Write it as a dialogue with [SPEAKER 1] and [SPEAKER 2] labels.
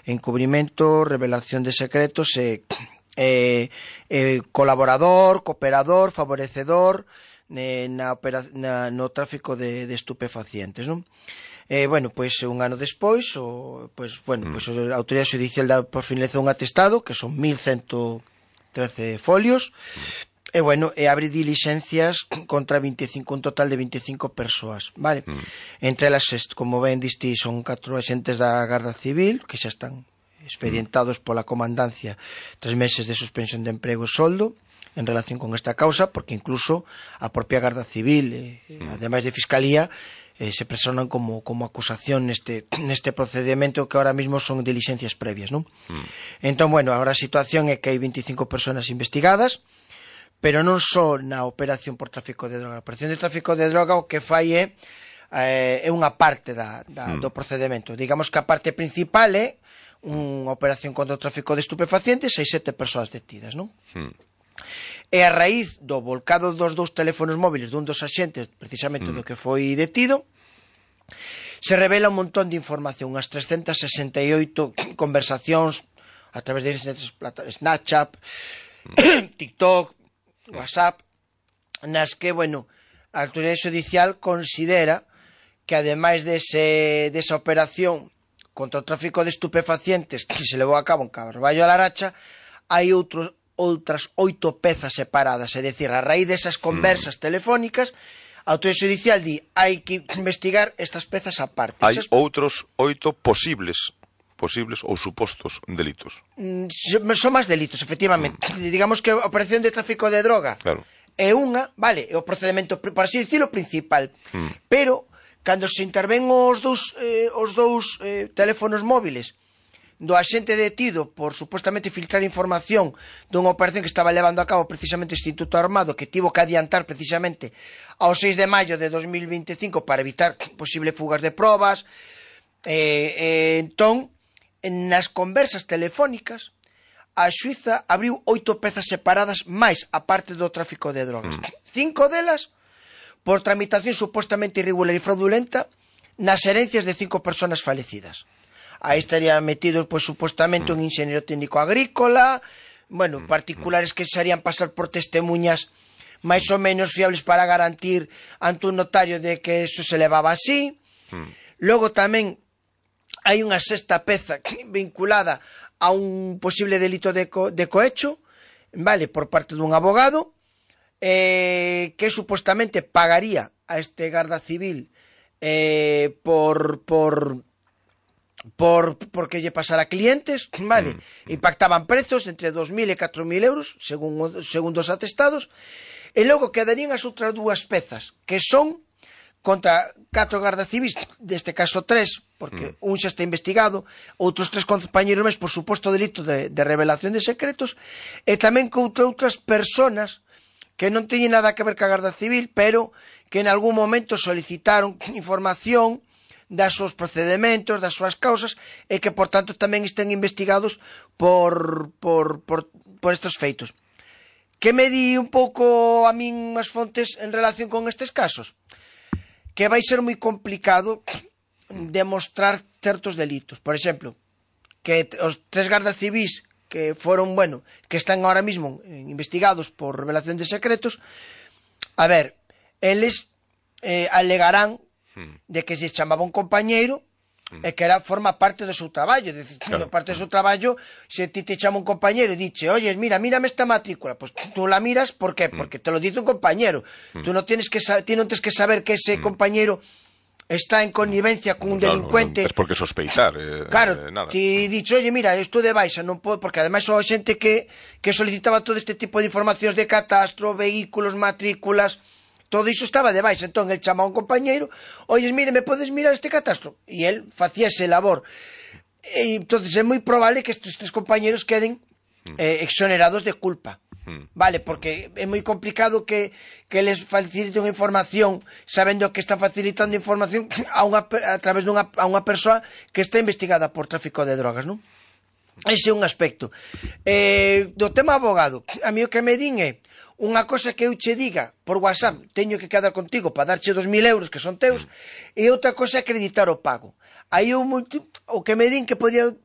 [SPEAKER 1] encubrimento, revelación de secretos, colaborador, cooperador, favorecedor no tráfico de estupefacientes, non? Bueno, pois un ano despois a autoridade judicial finalizou un atestado que son 1113 folios e abre dilixencias contra un total de 25 persoas, vale? Entre elas, como ben diste, son 4 axentes da Garda Civil que xa están expedientados pola comandancia 3 meses de suspensión de emprego e soldo en relación con esta causa, porque incluso a propia Garda Civil, ademais de Fiscalía, se personan como acusación neste procedimento que ahora mismo son dilixencias previas, non? Entón, agora a situación é que hai 25 personas investigadas, pero non só na operación por tráfico de droga. A operación de tráfico de droga o que fai é unha parte do procedimento. Digamos que a parte principal é unha operación contra o tráfico de estupefacientes, hai 7 persoas detidas, non? E a raíz do volcado dos 2 teléfonos móviles dun dos axentes, precisamente do que foi detido, se revela un montón de información, unhas 368 conversacións a través de Snapchat, TikTok, WhatsApp, nas que, a autoridade judicial considera que ademais desa operación contra o tráfico de estupefacientes que se levou a cabo en Carballo a Laracha, hai outras 8 pezas separadas, é dicir, a raíz desas conversas telefónicas, a autoridade judicial di hai que investigar estas pezas aparte.
[SPEAKER 2] Hai outros 8 posibles ou supostos delitos.
[SPEAKER 1] Son máis delitos, efectivamente. Digamos que a operación de tráfico de droga é unha, vale, é o procedimento, por así dicirlo, principal. Pero, cando se interven os dous teléfonos móviles do axente detido por supuestamente filtrar información dunha operación que estaba levando a cabo precisamente o Instituto Armado, que tivo que adiantar precisamente ao 6 de maio de 2025 para evitar posibles fugas de probas, entón, nas conversas telefónicas, a xuíza abriu 8 pezas separadas máis a parte do tráfico de drogas. 5 delas por tramitación supuestamente irregular e fraudulenta nas herencias de 5 persoas falecidas. Aí estaría metido, supuestamente, un ingeniero técnico agrícola, particulares que se harían pasar por testemunhas máis ou menos fiables para garantir ante un notario de que eso se levaba así. Logo tamén hai unha 6ª peza vinculada a un posible delito de cohecho, vale, por parte dun abogado, que supuestamente pagaría a este Garda Civil porque lle pasara clientes, vale, e pactaban prezos entre 2.000 e 4.000 euros según dos atestados, e logo quedarían as outras 2 pezas que son contra 4 gardas civis, deste caso 3, porque un xa está investigado, outros 3 compañeros máis por suposto delito de revelación de secretos, e tamén contra outras personas que non teñen nada que ver ca Garda Civil, pero que en algún momento solicitaron información das seus procedementos, das súas causas, e que, por tanto, tamén estén investigados por estes feitos. Que me di un pouco a min as fontes en relación con estes casos? Que vai ser moi complicado demostrar certos delitos. Por exemplo, que os 3 gardas civis que foron, que están ahora mismo investigados por revelación de secretos, a ver, eles alegarán de que se chamaba un compañeiro e que forma parte do seu traballo, parte do seu traballo, se ti te chama un compañero e dice, oye, mírame esta matrícula, pues tú la miras, ¿por qué? Porque te lo dice un compañero. Tú non tienes que saber que ese compañero está en connivencia con un delincuente.
[SPEAKER 2] Es porque sospeitar,
[SPEAKER 1] claro,
[SPEAKER 2] nada.
[SPEAKER 1] Ti dicho, oye, mira, estou de baixa, non podo, porque ademais son xente que solicitaba todo este tipo de informacións de catastro, vehículos, matrículas. Todo iso estaba de baixa, entón el chama a un compañeiro, oye, mire, me podes mirar este catastro? E el facía ese labor. E entonces é moi probable que estes 3 compañeros queden exonerados de culpa. Vale, porque é moi complicado que les faciliten unha información sabendo que están facilitando información a través a unha persoa que está investigada por tráfico de drogas, non? Ese é un aspecto. Do tema abogado, a mí o que me din é unha cosa que eu che diga por WhatsApp, teño que quedar contigo para darche 2.000 euros que son teus, e outra cosa é acreditar o pago. Aí o que me din que podía